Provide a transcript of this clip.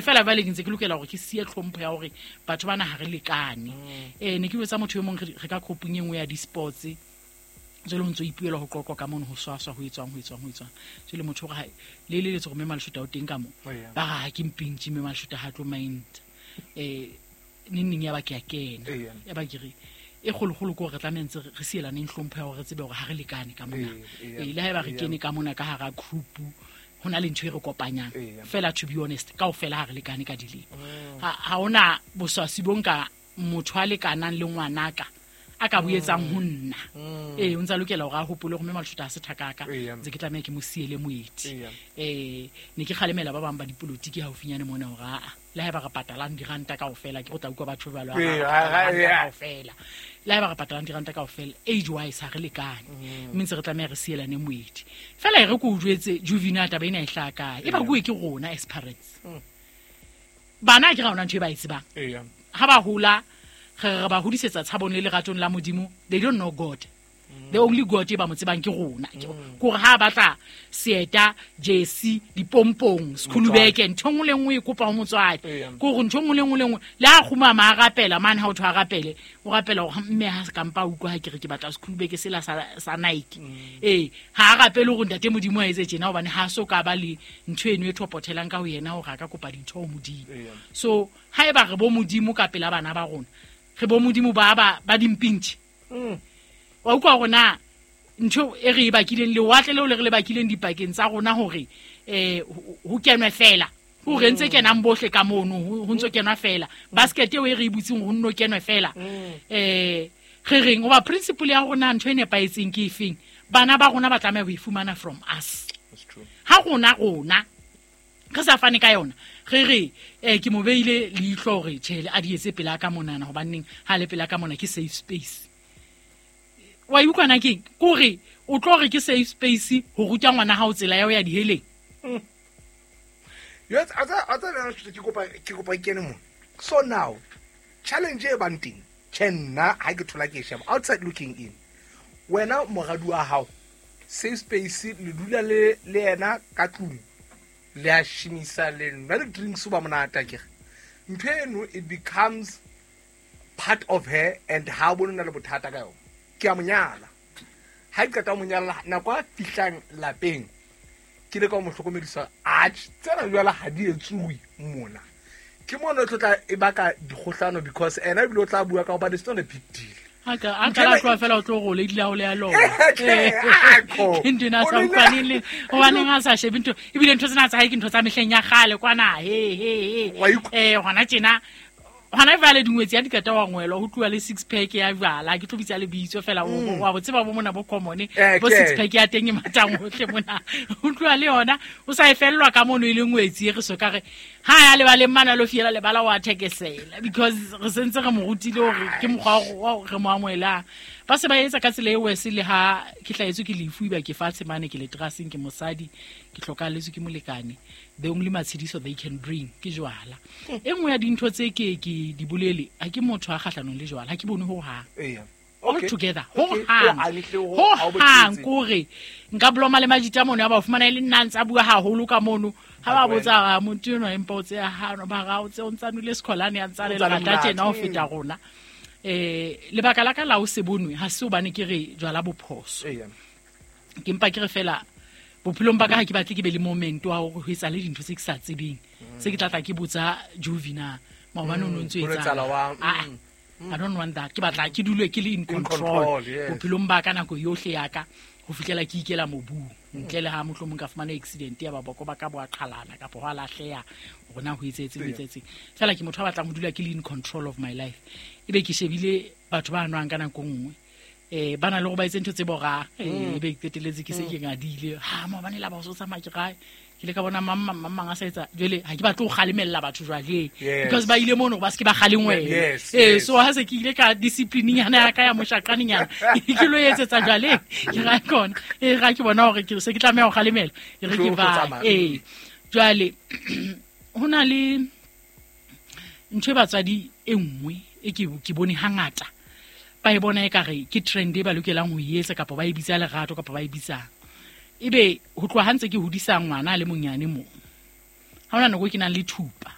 Fela jwale ke ntse ke lokela hore ke siye tlhompho ya hore batho bana ha re lekane. Ne ke jwetsa motho e mong re ka groupung e nngwe ya di-sports, jwale ho ntso ipuelwa ho qoqwa ka mono, ho swaswa, ho etswang, ho etswang, ho etswang. Jwale motho o re le eleletse hore mme Maleshota o teng ka mo. Oh, yeah. Ba re ha ke mpintshi mme Maleshota ha tlo mind. Neng neng ya ba ke a kena. Yeah. Ya ba ke re e kgolokgolo ke hore re tlameha ntse re sielaneng hlompho ya hore re tsebe hore ha re lekane ka mona. Yeah, Le haeba re yeah. kene ka mona ka hara group, ho na le ntho e re kopanyang. Yeah. Fela to be honest, kaofela ha re lekane ka dilemo. Ha hona boswasi bo nka motho a lekanang le ngwanaka a ka bo etsang ho nna. O ntsa lokela hore a hopole hore mme Maleshota ha se thakaka, Yeah. ntse ke tlameha ke mo siele moeti. Yeah. Ne ke kgalemela ba bang ba dipolotiki haufinyane mona hore aa, le haeba re patalang diranta kaofela, ke go tla utlwa batho jwalo, ha re Yeah, patalang diranta yeah. kaofela. Le haeba re patalang diranta kaofela, age wise ha re lekane. Mme ntse re tlameha re sielane moedi. Fela e re ke o jwetse, Juvina, taba ena e hlaha kae? E bakuwe ke rona as parents. Bana ha ke ra hona ntho e ba e tsebang. Yeah. Ha ba hola, re ba hodisetsa tshabong le leratong la Modimo, they don't know God. The only God e ba mo tsebang ke rona. Ke hore ha ba batla seeta, jersey, dipompong, sekhulubeke, ntho e nngwe le nngwe e kopa ho motswadi. Yeah. Ke hore ntho e nngwe le nngwe le nngwe, le ha kgumama a rapela, mane ha o thwe a rapele, o rapela hore mme ha se ka mpa a utlwa ha ke re ke batla sekhulubeke sela sa Nike. Ha a rapele hore ntate Modimo a etse tjena, hobane ha so ka ba le ntho eno e thopothelang ka ho yena hore a ka kopa dintho ho Modimo. Yeah. So haeba re bo Modimo ka pela bana ba rona, re bo Modimo ba dimpintshi. Wa utlwa hore na ntho e re e bakileng, lewatle leo le re le bakileng dipakeng tsa rona hore, ho kenwe fela. Ho re ntse kenang bohle ka mono, ho ntso kenwa fela. Basket eo e re e butseng ho nno kenwe fela. Re reng hoba principle ya rona ntho e nepahetseng ke efeng? Bana ba rona ba tlameha ho e fumana from us. That's true. Ha rona re sa fane ka yona, re re, ke mo beile leihlo hore tjhe, a di etse pela ka monana, hobaneng ha le pela ka mona ke safe space. Wa e utlwa na keng? Ke hore o tlo re ke safe space ho ruta ngwana hao tsela ya ho ya diheleng. Yes, a tsa, a tsa le ke kopa, ke kopa ke kene mona. So now, challenge e bang teng, tjhe nna ha ke thola ke e sheba, outside looking in. Wena moradi wa hao, safe space le dula le yena ka tlung. Le a shimisa le nwa le drinks ba monate akere. Ntho eno it becomes part of her and ha o bone na le bothata ka yona. Ke a mo nyala. Ha ke qeta ho mo nyala, nako a fihlang lapeng, ke leka ho mo hlokomedisa, atjhe, tsena jwale ha di etsuwe mona. Ke mona o tlo tla e baka dikgohlano because ena ebile o tla bua ka hobane it's not a big deal. Ha ka, a ka la tloha fela o tlo re o lady la ho le ya lona. Tjhe, a ko. Ke ntho ena a sa O le utlwaneng le, hobaneng a sa shebe ntho, ebile ntho tsena tsa hae ke ntho tsa mehleng ya kgale kwana, he, he, he. Wa utlwa? Hona tjena, hona jwale dingwetsi ya di qeta wa ngwelwa, ho tluwa le six pack ya jwala, ke tlo bitsa lebitso fela, wa bo tseba bo mona bo common, bo six pack ya teng e matang hohle mona. Ho tluwa le yona, o sa e fellwa ka mono e le ngwetsi e re so ka re, ha ya lebaleng mane a lo fiela lebala wa thekesela, because re sentse re mo rutile hore ke mokgwa wa re mo amohelang. Ba se ba etsa ka tsela e worse le ha ke hlahetswe ke lefu, eba ke fatshe mane, ke le teraseng, ke mosadi, ke hlokahalletswe ke molekane. The only matshediso they can bring ke jwala. E nngwe ya dintho tse ke di bolele, ha ke motho a kgahlanong le jwala, ha ke bone hohang. Eya. All Okay. together. Okay. Hohang. O hantle ho- ha o bo Hohang, tletse. ke hore nka bloma le majita mono, ya ba o fumana e le nna a ntse a bua haholo ka mono. Ha ba Ba botsa, ha motho enwa empa o tseya hano, ba ra o tse o ntsa nwele sekholane, a ntsa le O ntsa le lerata monate. tjena ho feta rona. Lebaka la ka la ho se bonwe, ha se hobane ke re jwala bo phoso. Eya. Ke mpa ke re fela bophelong ba ka ha ke batle ke be le moment wa hore ho etsahale dintho tse ke sa tsebeng. Se ke tla tla ke botsa Juvina, maobane o no ntso Ho etsahala. etsahala wa, Ah, I don't want that. Ke batla ke dule ke le in In control control, yes. bophelong ba ka nako yohle ya ka, ho fihlela ke ikela mobung. Ntle le ha mohlomong ka fumana accident ya ba boko ba ka bo a qhalana kapa ho a lahleha, hore na ho etsahetse, ho Eya. etsahetseng. Fela ke motho a batlang ho dula ke le in control of my life. Ebe ke shebile batho ba nwang ka nako nngwe. Ba na le hore ba etse ntho tse borang. Ebe ke qetelletse ke se ke ngadile. Ha, maobane la ba o so tsamaya ke kae? Ke ile ka bona mang, mang, mang, mang a sa etsa. Jwale ha ke batle ho kgalemella batho jwale. Yes. Because ba ile mono ba se ke ba kgalengwela. Yes, yes. So ha se ke ile ka discipline-nyana ya ka ya moshaqanenyana, ke lo etsetsa jwale. Ke ra kona. Ra ke bona hore ke se ke tlameha ho kgalemela. E re ke Tlo ba. tsamaya. Jwale, ho na le ntho e batswadi e nngwe e ke bone hangata. Ba e bona ekare ke trend e ba lokelang ho e etsa, kapa ba e bitsa lerato, kapa ba e bitsang. Ebe ho tloha ha ntse ke hodisa ngwana a le monyane mo. Ha hona nako e ke nang le thupa.